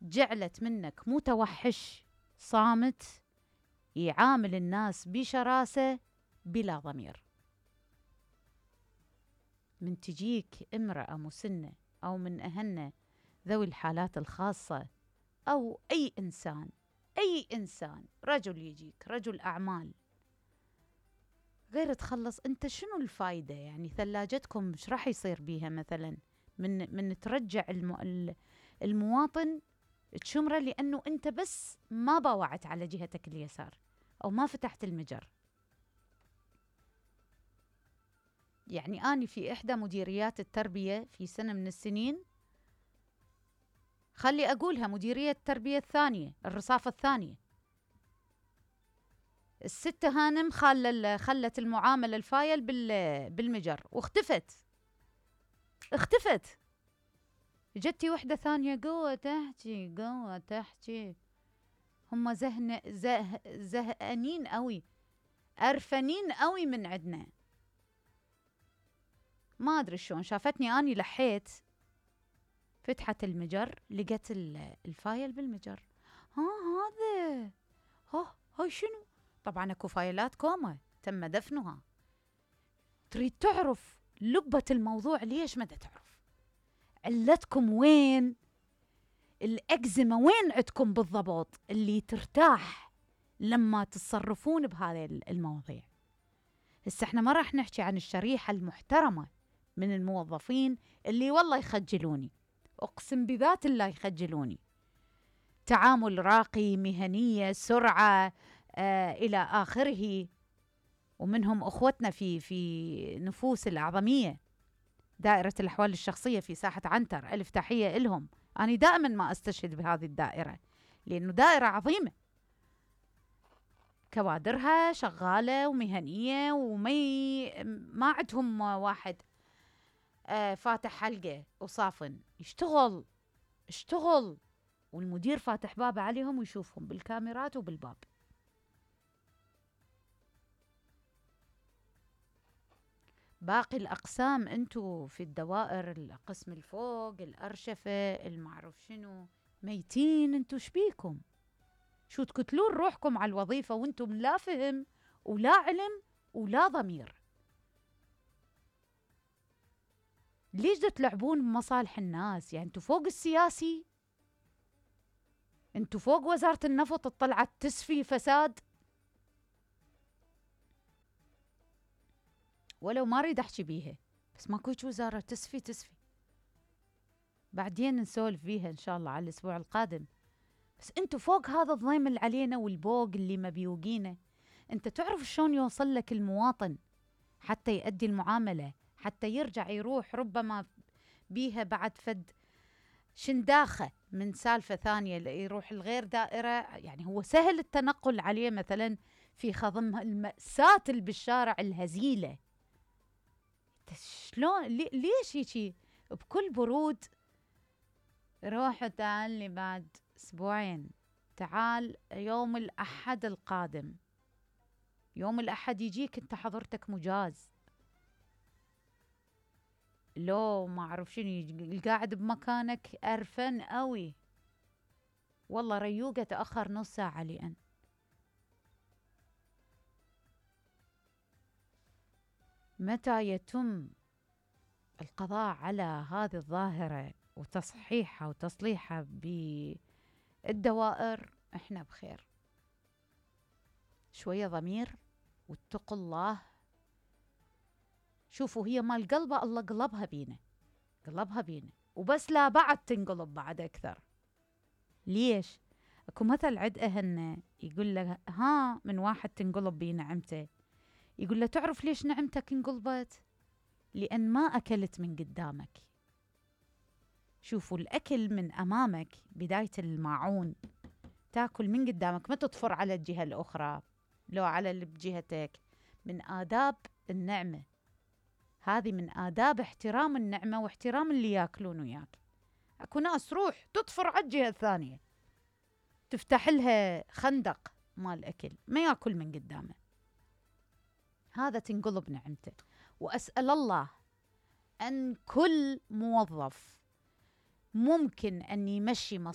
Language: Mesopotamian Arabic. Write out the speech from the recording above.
جعلت منك متوحش صامت يعامل الناس بشراسة بلا ضمير. من تجيك امرأة مسنة أو من أهلنا ذوي الحالات الخاصة أو أي إنسان رجل يجيك رجل أعمال غير تخلص، أنت شنو الفايدة؟ يعني ثلاجتكم إيش راح يصير بيها مثلا من ترجع المواطن تشمره لأنه أنت بس ما باوعت على جهتك اليسار أو ما فتحت المجر. يعني أنا في إحدى مديريات التربية في سنة من السنين، خلي أقولها مديرية التربية الثانية الرصافة الثانية، الست هانم خلت المعاملة الفايل بالمجر واختفت. جتي وحدة ثانية قوة تحكي هم زهقانين قوي، قرفانين قوي من عندنا. ما أدري شلون شافتني أني لحيت، فتحت المجر لقت الفايل بالمجر. هذا هاي شنو؟ طبعا اكو فايلات كوما تم دفنها. تريد تعرف لبة الموضوع ليش؟ ما تعرف علتكم وين؟ الأكزمة وين عندكم بالضبط اللي ترتاح لما تتصرفون بهذه المواضيع؟ هسه احنا ما راح نحكي عن الشريحة المحترمة من الموظفين اللي والله يخجلوني، أقسم بذات الله يخجلوني. تعامل راقي، مهنية، سرعة، إلى آخره. ومنهم أخوتنا في نفوس الأعظمية، دائرة الأحوال الشخصية في ساحة عنتر، ألف تحية إلهم. أنا دائما ما أستشهد بهذه الدائرة لأنه دائرة عظيمة، كوادرها شغالة ومهنية ما عندهم واحد فاتح حلقة وصافن، اشتغل والمدير فاتح بابه عليهم ويشوفهم بالكاميرات وبالباب. باقي الأقسام أنتوا في الدوائر، القسم الفوق، الأرشفة، المعروف شنو، ميتين. أنتوا شبيكم؟ شو تكتلون روحكم على الوظيفة وأنتم لا فهم ولا علم ولا ضمير؟ ليش تلعبون بمصالح الناس؟ يعني أنتوا فوق السياسي، أنتوا فوق وزارة النفط طلعت تسفي فساد. ولو ما أريد أحكي بيها، بس ماكو وزارة تسفي. بعدين نسولف فيها إن شاء الله على الأسبوع القادم. بس أنتوا فوق هذا الضيم اللي علينا والبوق اللي مبيوقينه. أنت تعرف شلون يوصل لك المواطن حتى يؤدي المعاملة، حتى يرجع يروح ربما بيها بعد فد شنداخة من سالفة ثانية يروح الغير دائرة. يعني هو سهل التنقل عليه مثلا في خضم المأساة اللي بالشارع الهزيلة. شلون ليش هيك بكل برود؟ روح تعال لي بعد أسبوعين، تعال يوم الأحد القادم. يوم الأحد يجيك أنت حضرتك مجاز، لو ما أعرف شنو القاعد بمكانك أرفن قوي، والله ريوقة تأخر نص ساعة لأن متى يتم القضاء على هذه الظاهرة وتصحيحها وتصليحها بالدوائر احنا بخير. شوية ضمير واتقوا الله. شوفوا هي مال قلبه الله قلبها بينا وبس، لا بعد تنقلب بعد أكثر. ليش؟ اكو مثل عد أهلنا يقول له من واحد تنقلب بيه نعمته، يقول له تعرف ليش نعمتك انقلبت؟ لأن ما أكلت من قدامك. شوفوا الأكل من أمامك بداية الماعون، تاكل من قدامك، ما تطفر على الجهة الأخرى لو على اللي بجهتك. من آداب النعمة هذه، من آداب احترام النعمة واحترام اللي ياكلون وياك. أكو ناس روح تطفر على الجهة الثانية، تفتح لها خندق مال أكل، ما ياكل من قدامه، هذا تنقلب نعمته. وأسأل الله أن كل موظف ممكن أن يمشي